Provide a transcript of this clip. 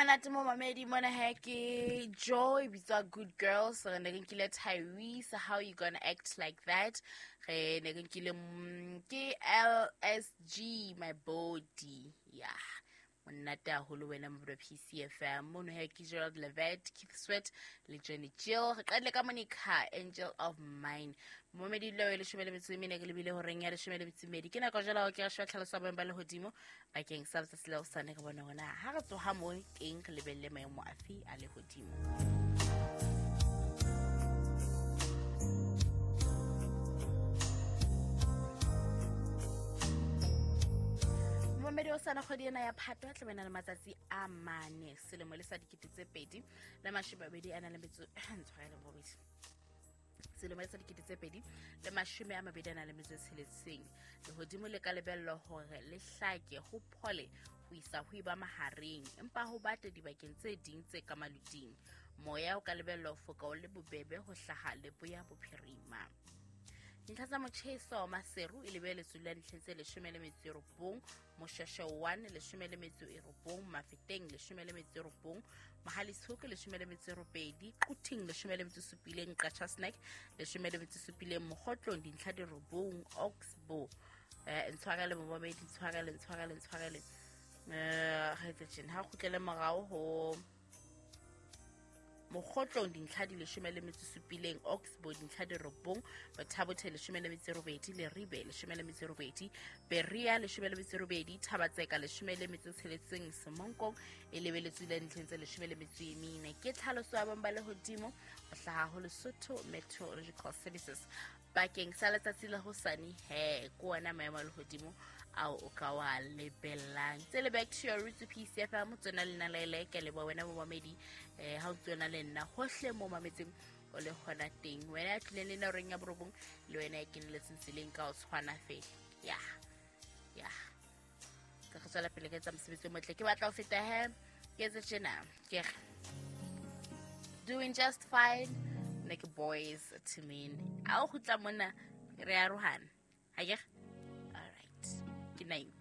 Monate mo mamedi mona he ke Joy bitswa Good Girls. Re ne re nkile Tyrese, How You Gonna Act Like That. Re ne re nkile ke LSG, My Body. Yeah. Monate haholo wena mo PCFM. Mono he ke Gerald Levett, Keith Sweat le Johnny Gill. Re qadile ka Monica, Angel of Mine. Momedi leo e 14 re lebile horeng ya 12. Ke nako jwale ke re sheba tlhaloso ya boemo ba lehodimo bakeng sa letsatsi la hosane, re bone hore na ha re tsoha mo teng re lebelle maemo afe a lehodimo. Momedi o sana kgwedi ena ya Phato tla bena le matsatsi a 4 selemo le sa 2022 a na le metso ntshwarele bobedi. Selemo sa 2026. Lehodimo le ka lebellwa hore le hlake ho phole ho isa ho eba mahareng, empa ho bate dibakeng tse ding tse ka maluting. Moya o ka lebellwa ho foka o le bobebe ho hlaha leboya bophirima. Dintlha tsa motjheso Maseru e lebeletswe la dintlheng tse 19, Moshweshwe 1 19, Mafeteng 19, Mohale's 18, Quthing 17, Qacha's Nek 17, Mokhotlong dintlha di 9, Oxbow ntshwarele momamedi, ntshwarele ga etse tjena ha kgutlele morao ho Mokhotlong dintlha di 17, Oxbow dintlha di 9, Bothabothe 18, Leribe 18, Berea 18, Thabatseka 16, Semonkong e lebeletswe le dintlheng tse 14. Ke tlhaloso ya boemo ba lehodimo ho hlaha ho Lesotho Meteorological Services bakeng sa letsatsi la hosane. He ke ona maemo a lehodimo ao o ka wa lebellang. Tse le back to your roots PCFM, tsona lena le ke leboha wena momamedi ha o tsona le nna hohle mo mametseng o le hona teng. Wena ya tlileng le nna horeng ya 9 le wena ya keneletseng tseleng ka o tshwana fela. Ya ke re tswela pele ka etsa mosebetsi o motle. Ke batla ho feta he ke etse tjena, ke re doing just fine ne ke boys to mean. A o kgutla mona re arohana. Ha ke re? All right. Ke nine.